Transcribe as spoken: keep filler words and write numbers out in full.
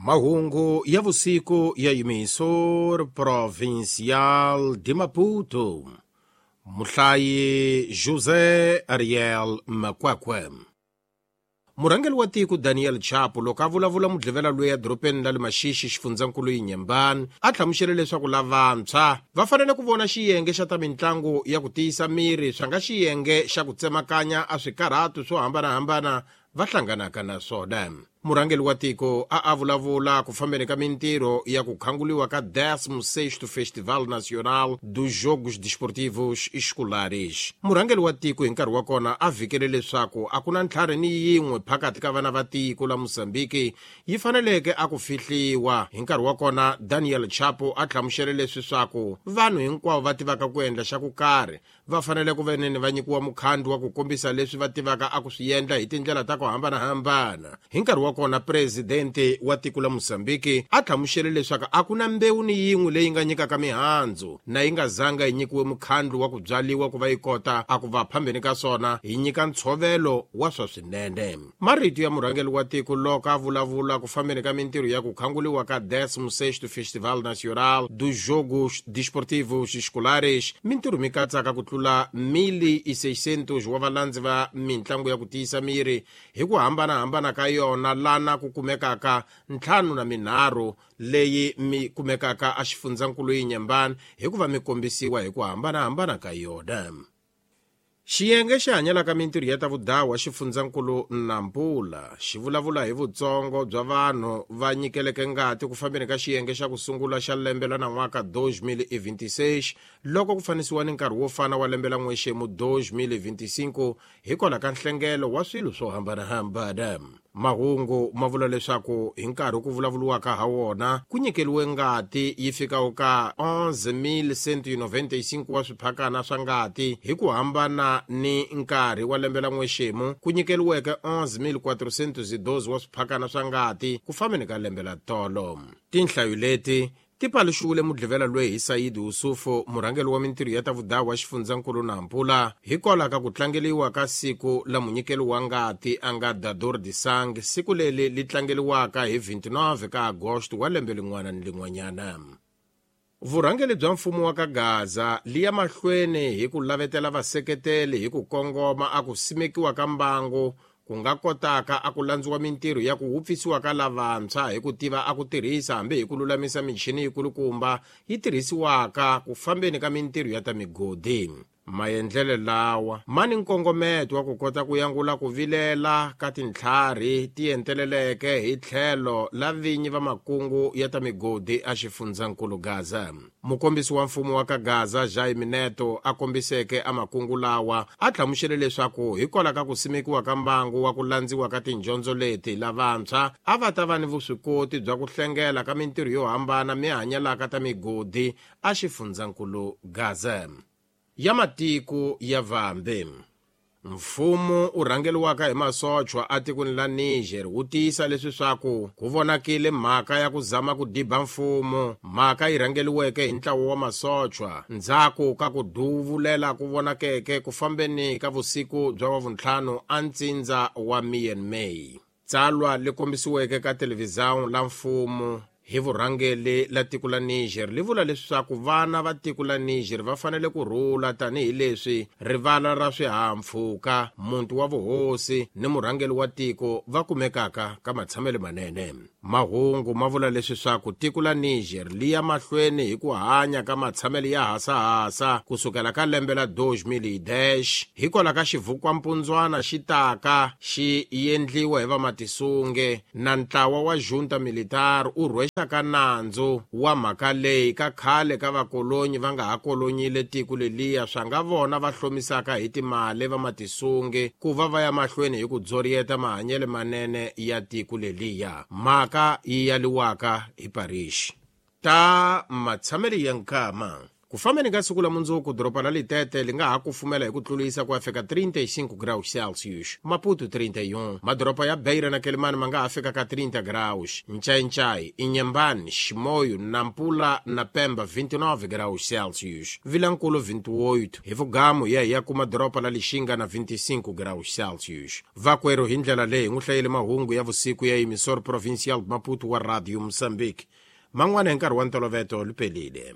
Mahungu ya vusiku ya Emissor Provincial de Maputo. Muhlayi José Ariel Makwakwe. Murhangeri wa tiko Daniel Chapo loko a vulavula mudlevela loyi edorobeni ra le Maxixi xifundzankulu Inhambane a hlamusele leswaku lavantshwa va fanele ku vona xiyenge xa ta mitlangu ya ku tiyisa miri swa nga xiyenge xa ku tsemakanya a swikarhatu swo hambanahambana va hlanganaka na swona. Murhangeri wa tiko a a vulavula ku fambeni ka mintirho ya ku khanguliwa ka décimo sexto Festival Nacional dos Jogos Desportivos Escolares. Murhangeri wa tiko hi nkarhi wa kona a vhikele leswaku a ku na ntlhari ni yin'we phakathi ka vana va tiko la Mozambique yi faneleke a ku fihliwa. Hi nkarhi wa kona Daniel Chapo a hlamusele leswi swaku vanhu hinkwavo va tivaka ku endla xa ku karhi va fanele ku veneni va nyikiwa mukhandlu wa ku kombisa leswi va tivaka a ku swi endla hi tindlela ta ku hambanahambana. Hi nkarhi wa kona presidente wa tiko la Mozambique a hlamusele leswaku a ku na mbewu ni yin'we leyi nga nyikaka mihandzu na yi nga zanga yi nyikiwe mukhandlu wa ku byaliwa ku va yi kota a ku va phambeni ka swona yi nyika ntshovelo wa swa swinene. Marito ya murhangeri wa tiko loko a vulavula ku fambeni ka mintirho ya ku khanguliwa ka décimo sexto Festival Nacional dos Jogos Desportivos Escolares, mintirho mi katsaka ku tlula mil e seiscentos wa valandzi va mitlangu ya ku tiyisa miri hi ku hambanahambana ka yona lana ku kumekaka ntlhanu na minharhu leyi mi kumekaka a xifundzankulu Inhambane hikuva mi kombisiwa hi ku hambanahambana ka yona. Xiyenge xi hanyelaka mintirho ya ta vudawa xifundzankulu Nampula xi vulavula hi vutsongo bya vanhu va nyikeleke ngati ku fambeni ka xiyenge xa ku sungula xa lembe la nan'waka dois mil e vinte e seis loko ku fanisiwa ni nkarhi wo fana wa lembe la n'wexemu dois mil e vinte e cinco hikwalaho ka nhlengelo wa swilo swo hambanahambana. Mahungu ma vula leswaku hi nkarhi ku vulavuriwaka ha wona ku nyikeliwe ngati yi fikaho ka onze mil cento e noventa e cinco wa swiphakana swa ngati hi ku hambana ni nkarhi wa lembe la n'wexemu ku nyikeliweke onze mil quatrocentos e doze wa swiphakana swa ngati ku fambeni ka lembe la tolo. Tinhlayo leti ti paluxiwile mudlevela loyi hi Said Yusufu, murhangeri wa mintirho ya ta vudawa xifundzankulu Nampula, hikwalaho ka ku tlangeliwa ka siku la munyikelo wa ngati a nga Dador de Sangue, siku leri li tlangeliwaka hi vinte e nove ka Agosto wa lembe lin'wana ni lin'wanyana. Vurhangeri bya mfumo wa ka Gaza li ya mahlweni hi ku lavetela vaseketeli hi ku kongoma a ku simekiwa ka mbangu ku nga kotaka a ku landziwa mintirho ya ku wupfisiwa ka lavantshwa hi ku tiva a ku tirhisa hambi hi ku lulamisa michini yikulukumba yi tirhisiwaka ku fambeni ka mintirho ya ta migodi. Maendlelo lawa ma ni nkongometo wa ku kota ku yangula ku vilela ka tintlhari ti enteleleke hi tlhelo la vinyi va makungu ya ta migodi a xifundzankulu Gaza. Mukombisi wa mfumo wa ka Gaza Jaime Neto a kombiseke a makungu lawa a hlamusele leswaku hikwalaho ka ku simekiwa ka mbangu wa ku landziwa ka tindyondzo leti lavantshwa a va ta va ni vuswikoti bya ku hlengela ka mintirho yo hambana mi hanyelaka ta migodi a xifundzankulu Gaza. Ya matiko ya vambe. Mfumo u rhangeriwaka hi masochwa atikweni la Niger wu tiyisa leswi swaku ku vonakile mhaka ya ku zama ku diba mfumo, mhaka yi rhangeriweke hi ntlawa wa masochwa ndzhaku ka ku duvulela ku vonakeke ku fambeni ka vusiku bya wavuntlhanu a ntsindza wa Myanmar. Tsalwa li kombisiweke ka televhizão la mfumo hi vurhangeri la tiko la Niger li vula leswaku vana va tiko la Niger va fanele ku rhula tanihileswi rivala ra swihahampfhuka, muti wa vuhosi ni murhangeri wa tiko va kumekaka ka matshamelo manene. Mahungu ma vula leswi swaku tiko la Niger li ya mahlweni hi ku hanya ka matshamelo ya hasahasa kusukela ka lembe la dois mil e dez hikwalaho ka xivhukwampundzwana xi taka xi endliwa hi vamatisunge na ntlawa wa junta militar u rhwexa ka nandzu wa mhaka leyi ka khale ka vakolonyi va nga ha kolonyile tiko leliya swa nga vona va hlomisaka hi timali va matisunge ku va va ya mahlweni hi ku dzoriyeta mahanyelo manene ya tiko leliya, mhaka yi yaliwaka hi Paris. Ta matshamelo ya nkama. Ku fambeni ka siku la mundzuku, doroba la Litete li nga ha kufumela hi ku tlulisa ku ya fika trinta e cinco graus Celsius, Maputo trinta e um, madoroba ya Beira na Quelimane ma nga ha fika ka trinta graus, Ncainchai, Inhambane, Chimoio, Nampula na Pemba vinte e nove graus Celsius, Vilankulo vinte e oito, hi Vugamu ya hi ya kuma doroba la Lixinga na vinte e cinco graus Celsius. Vakwerhu hi ndlela leyi n'wi hlayele mahungu ya vusiku ya emissor provincial Maputo wa Radio Moçambique. Man'wana hi nkarhi wa ntoloveto lupelile.